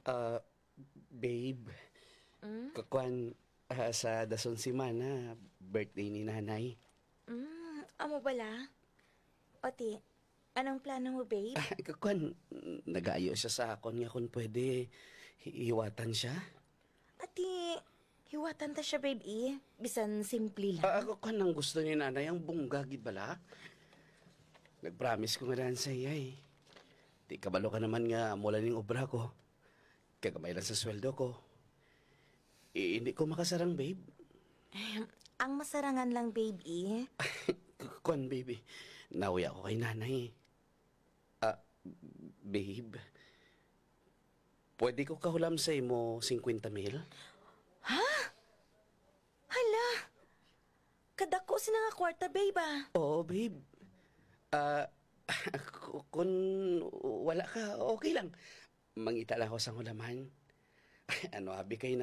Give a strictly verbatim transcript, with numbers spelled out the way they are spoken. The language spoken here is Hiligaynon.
Ah, babe. Mm? Kakuan, ah, sa dason semana, birthday ni Nanay. Mm, amo bala? O ti, anong plano mo, babe? Ah, kakuan, nagayo siya sa akon nga kung pwede, hi-, hiwatan siya. Ati, hiwatan ta siya, babe, eh. Bisan simple lang. Ah, ako, kwan ang gusto ni Nanay, ang bungga, gid bala. Nag-promise ko nga daan sa iya, eh. Di kabalo ka naman nga mula ning obra ko. Kagamay lang sa sweldo ko. Eh, hindi ko makasarang, babe. Ang masarangan lang, babe, eh. Kwan, babe, eh. Nauya ko kay Nanay, eh. Ah, babe, pwede ko kahulam sa imo singkwenta mil? Ha? Hala! Kadako sina nga kwarta, babe, ah. Oo, babe. Ah, ku-, kun wala ka, okay lang. Mangita lang ako sang hulaman. Ano, abi kay